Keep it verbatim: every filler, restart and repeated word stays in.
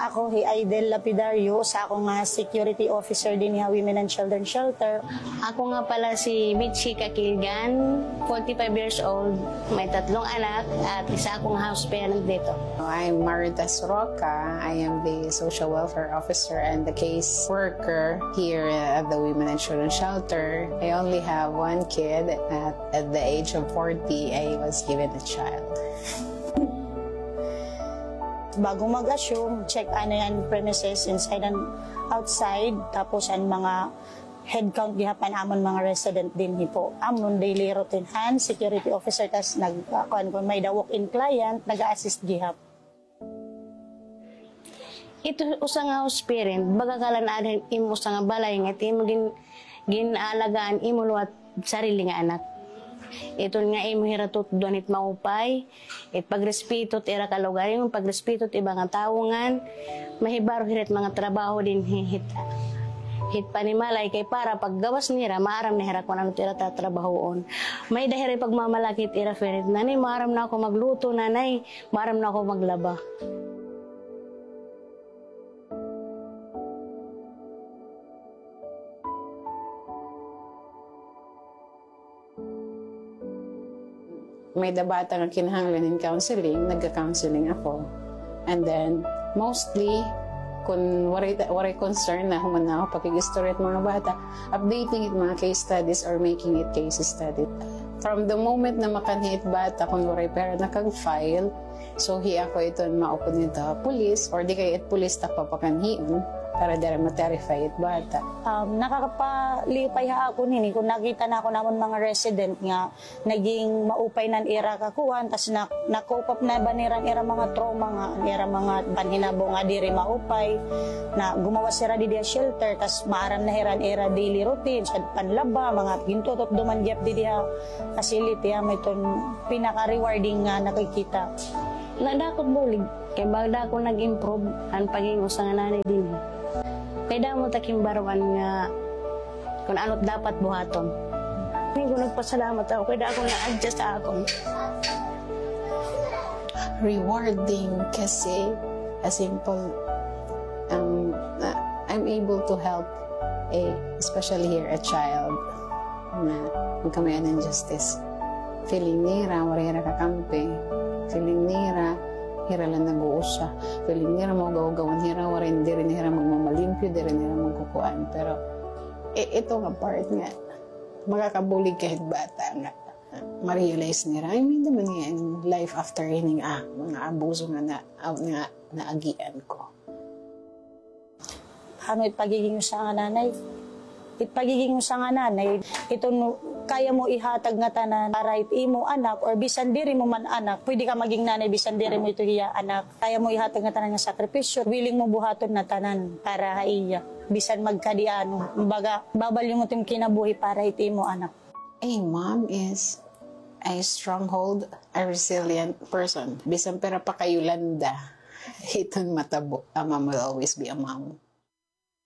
Ako hi Aidel Lapidario, usa ako nga security officer dinhi ha Women and Children Shelter. Ako nga pala si Mitchie Kakilgan, forty-five years old, may tatlong anak, at isa akong house parent dito. I'm Maritas Roca. I am the social welfare officer and the case worker here at the Women and Children Shelter. I only have one kid. At, at the age of forty, I was given a child. Bago mag-assume, check anay an premises inside and outside, tapos an mga head count gihap an amon mga resident dinhi po. Amon daily routine han security officer, tas nag, ah, kuan, kon may-ada walk-in client, nag-a-assist gihap. Ito usa nga house parent, baga ka la naada han imo usa nga balay nga ito imo gin-, gin-aalagaan imo liwat sarili nga anak. Iton nga imo hira tutdoan it maupay, it pagrespeto it ira kalugaringon, pagrespeto it iba nga tawo ngan mahibaro hira it mga trabaho dinhi hit, hit panimalay kay para paggawas nira, maaram na hira kon ano it ira tatrabahoon. May-ada hira pagmamalaki it ira parent, "Nanay, maaram na ako magluto, nanay. Maaram na ako maglaba." May-ada bata nga kinahanglan hin counseling, nagka-counseling ako. And then, mostly, kun waray, waray concern na human na ako pakig-istorya it mga bata, updating it mga case studies or making it case study. From the moment na makanhi it bata, kun waray pa hira nakag-file, so hi ako iton maupod ngadto ha pulis, or di kay it pulis ta papakanhion, para diri ma-terrify it bata. Um, nakakapalipay ha akon ini kun nakita nakon amon mga resident nga naging maupay na an ira kakuan, tas na, na-cope up na ba nira an ira mga trauma nga, an ira mga panhinabo nga diri maupay, na gumawas hira didi ha shelter, tas maaram na hira an ira daily routine, sa panlaba, mga gintututdoman gihap didi ha facility, ha, may iton pinaka-rewarding nga nakikita. Nadako it bulig, kay baga ako nag-improve an pagiging usa nga nanay dinhi. Kay damo ta ginbaruan nga kun ano it dapat buhaton. Ngayon, nagpasalamat ako kay dako na-adjust ha akon. Rewarding kasi a simple, um, uh, I'm able to help, eh, especially here, a child na magkamay-an hin justice. Feeling nira, waray hira kakampi. Feeling nira, hira la nag-uusa. Feeling nira, maugaw-ugawan hira, waray, diri na hira magmamalimpyo, diri na hira magkukuan. Pero, i-, ito nga part nga, makakabulig ka hit bata nga ma-realize nira, ay, may-ada man ngay-an life after ini nga, ah, mga abuso nga na, ah, nga naagian ko. Ano it pagiging usa nga nanay? It pagiging usa nga nanay, iton kaya mo ihatag nga tanan para hit imo anak, or bisan diri mo man anak, pwede ka maging nanay bisan diri mo ito hiya anak. Kaya mo ihatag nga tanan nga sakripisyo, willing mo buhaton na tanan para ha iya. Bisan magkadi-ano, kumbaga, babalyongon it im kinabuhi para hit imo anak. A mom is a stronghold, a resilient person. Bisan pira pa ka Yolanda, iton matabo. A mom will always be a mom.